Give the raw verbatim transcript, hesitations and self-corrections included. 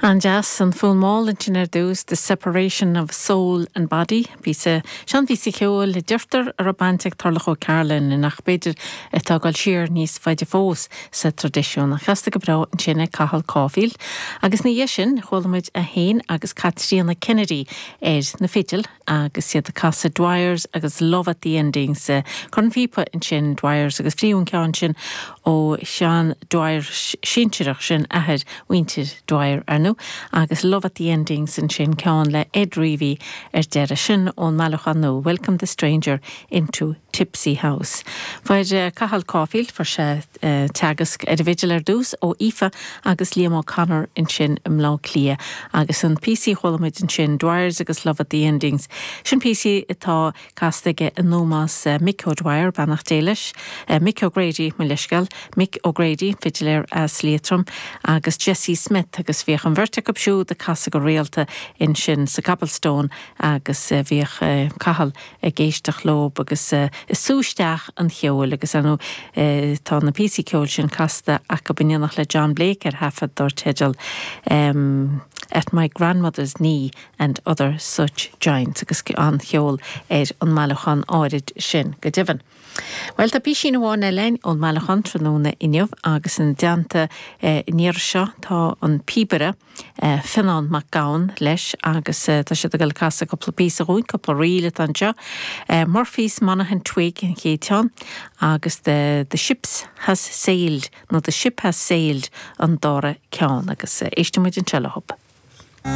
An-deas an fonn mall ansin ar dtús The Separation of Soul and Body, píosa seanphíosa ceoil a deirtear a raibh baint ag Turlough O'Carolan ach b'fhéidir atá ag dul siar níos faide fós sa traidisiún a chasta go breá ansin ag Cathal Caulfield. Agus ina dhiaidh sin chuala muid é féin agus Caitríona Kennedy ar na fidil agus iad ag casadh Dwyers agus Love at the Endings. Cornphíopa ansin Dwyers agus fiú an ceann sin ó Seán Dwyer sinsearach sin athair mhuintir Dwyer ar ndóigh, agus Love at the Endings ansin ceann le Ed Reavy ar deireadh sin ón mbailiúchán nua Welcome the Stranger into Tipsy House. Fuair Cathal Caulfield fuair sé uh, teagasc ar an bhfidil ar dtús ó Aoife agus Liam O'Connor ansin i mBleá Cliath agus an píosa a chuala muid ansin Dwyers agus Love at the Endings. Sin píosa atá casta aige in ómós uh, Mick O'Dwyer beannacht Dé leis, uh, Mick O'Grady mo leithscéal, Mick O'Grady fidiléir as Liatroim agus Jesse Smith agus bhíodh an bheirt acu siúd ag casadh go rialta ansin sa Cobblestone agus uh, bhíodh uh, Cathal ag éisteacht leo agus uh, ag sú isteach an cheol agus anu uh, tá na píosaí ceoil sin casta acu in éineacht le John Blake ar thaifead dar teideal um, at my grandmother's knee and other such giants agus an cheol ar an mbailiúchán áirid sin go deimhin. Well tá píosa amháin eile ón mbailiúchán tráthnóna inniu agus ina dteannta eh, níor seo tá an píobaire eh, Fionnán Mac Gabhann leis agus eh, tá sé ag casadh cúpla píosa dúinn cúpla ríl anseo. Eh, Murphy's Monaghan Twig an chéad cheann agus the, the ships has sailed nó the ship has sailed an dara ceann agus eh, éistfimid anseo leo.